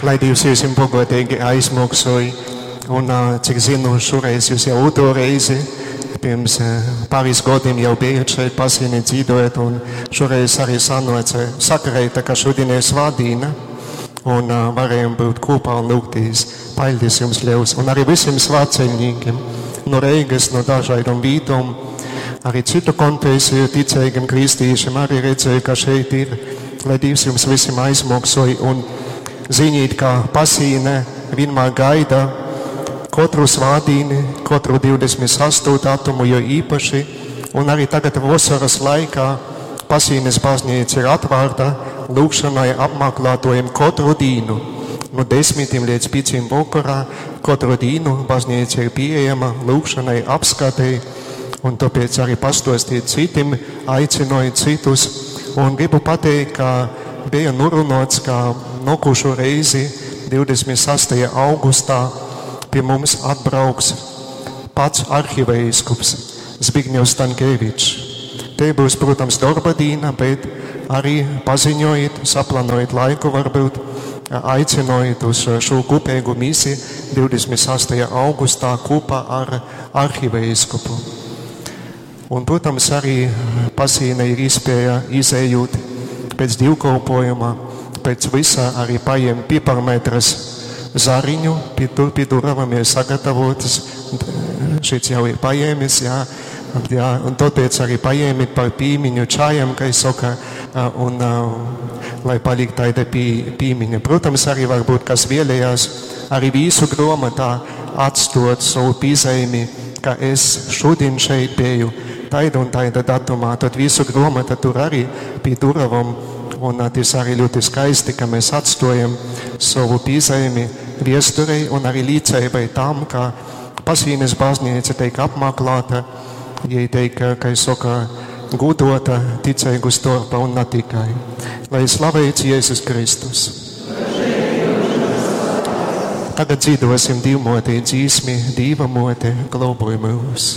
Lai Dīvs jyusim bogoteigi aizmoksoj. Un, cik zinu, šoreiz jūs jau otro reizi, pirms pāris gadiem jau bijat šeit Pasīnē dzīdojat, un šoreiz arī sanāca sakrēta, ka šodien ir svētdiena, un varējām būt kopā un lūgties. Paldies jums liels, un arī visiem svētceļniekiem no Reigas, no dažādām vītām, arī citu konfesiju ticīgiem kristīšiem arī redzēju, ka šeit ir, lai Dievs jums visiem aizmaksoj un ziniet, ka Pasīne vienmēr gaida katru svētdienu, katru 28. datumu, jo īpaši, un arī tagad vasaras laikā Pasīnes baznīca ir atvērta lūgšanai apmeklētājiem katru dienu. No 10 līdz 5 vakarā katru dienu baznīca ir pieejama lūgšanai, apskatei, un tāpēc arī pastostīt citiem, aicinoju citus. Un gribu pateikt, ka bija norunāts, ka nākošo reizi 26. augustā pie mums atbrauks pats arhiveiskops Zbigņevs Stankevičs. Te būs, protams, darba diena, bet arī paziņojiet, saplānojiet laiku varbūt, aicinojiet uz šo kopīgu misiju 28. augustā kopā ar arhiveiskopu. Un, protams, arī Pasīne ir iespēja izējot pēc dievkalpojuma, pēc visa arī paņemt piparmetras zariņu, pie, tur pie durvām ir sagatavotas, šits jau ir paņēmis, jā, jā, un tāpēc arī paņēmit par pīmiņu čajam, kā es saka, un lai paliek tāda pī, pīmiņa. Protams, arī varbūt kas vēlējās arī visu grāmatā atstot savu piezīmi, ka es šodien šeit biju taida un taida datumā, tad visu grāmata tur arī pie durvām. Un tas arī ļoti skaisti, ka mēs atstojam savu piezīmi viesturei un arī līdzībai tam, ka Pasīnes baznīca tiek apmeklēta, ja tiek, kā es saku, gudota ticīgu starpā un ne tikai. Lai slavēts Jēzus Kristus. Tagad dzīvosim Dievmotei dzīsmi, Dieva mote, globoj mūs.